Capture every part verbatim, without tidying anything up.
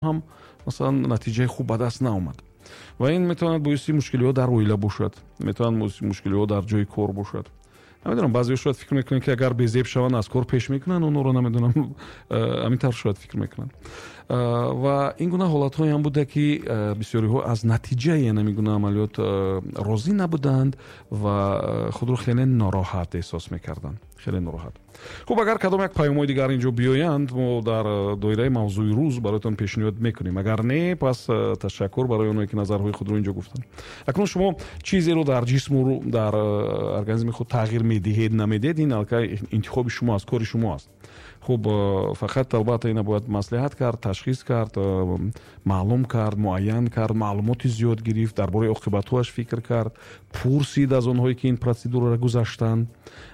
Ҳам, масалан, натиҷаи хуб ба даст наомад. Ва ин метавонад боиси мушкилиҳо дар оила бошад, метавонад боиси мушкилиҳо дар ҷои кор бошад. Намедонам, баъзеҳо шояд фикр мекунанд, ки агар безеб шаванд, аз кор пеш мекунанд онҳоро, намедонам, ҳамин тавр шояд фикр мекунанд. Ва ин гуна ҳолатҳое ҳам буда, ки бисёриҳо аз натиҷаи ҳамин гуна амалиёт розӣ набуданд ва худро хеле нороҳат эҳсос мекарданд, хеле нороҳат. Хуб, агар кадом як паёмҳои дигар инҷо биёянд, мо дар доираи мавзӯи рӯз бароятон пешниҳод мекунем. Агар не, пас ташаккур барои онҳое, ки назарҳои худро инҷо гуфтанд. Акнун шумо чизеро дар ҷисму дар организми худ тағйир медиҳед, намедиҳед, ин аллакай интихоби шумо аст, кори шумо аст. Хуб, фақат албатта ина бояд маслиҳат кард, ташхис кард, маълум кард, муайян кард, маълумоти зиёд гирифт, дар бораи оқибатҳояш фикр кард, пурсид аз онҳое, ки ин процедураро гузаштанд,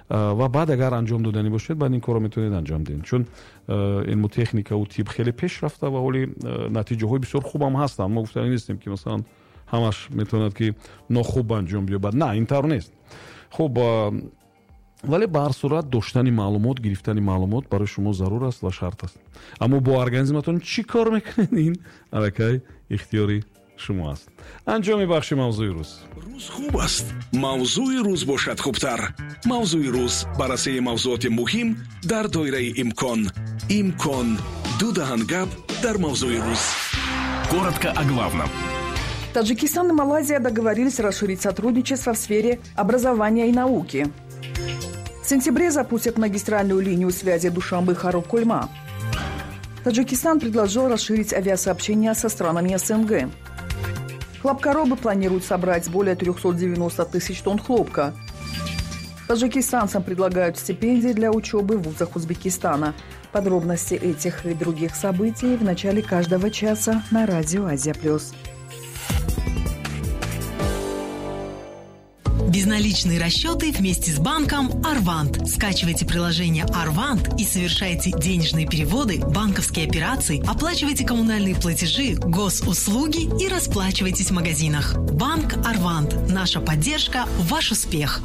ва баъд агар анҷом доданӣ бошед, баъд ин корро метавонед анҷом диҳед, чун илму техникаву тиб хеле пеш рафта ва ҳоли натиҷаҳои бисёр хубам ҳастанд. Мо гуфтанӣ нестем, ки масалан ҳамаш метавонад, ки нохуб анҷом биёбад. На, ин тавр нест. Хуб, вале ба ҳар сурат доштани маълумот, гирифтани маълумот барои шумо зарур аст ва шарт аст. Аммо бо организматон чӣ кор мекунед, ин аллакай ихтиёри шумо аст. Анҷоми бахши мавзӯи рӯз. Рӯз хуб аст, мавзӯи рӯз бошад хубтар. Мавзӯи рӯз: баррасии мавзӯоти муҳим дар доираи имкон. Имкон: ду даҳан гап дар мавзӯи рӯз. Коротко о главном. Таджикистан и Малайзия договорились расширить сотрудничество в сфере образования и науки. В сентябре запустят магистральную линию связи Душанбе-Хорог-Кульма. Таджикистан предложил расширить авиасообщение со странами Эс Эн Гэ. Хлопкоробы планируют собрать более трехсот девяноста тысяч тонн хлопка. Таджикистанцам предлагают стипендии для учебы в вузах Узбекистана. Подробности этих и других событий в начале каждого часа на радио «Азия плюс». Безналичные расчеты вместе с банком «Арвант». Скачивайте приложение «Арвант» и совершайте денежные переводы, банковские операции, оплачивайте коммунальные платежи, госуслуги и расплачивайтесь в магазинах. Банк «Арвант». Наша поддержка – ваш успех.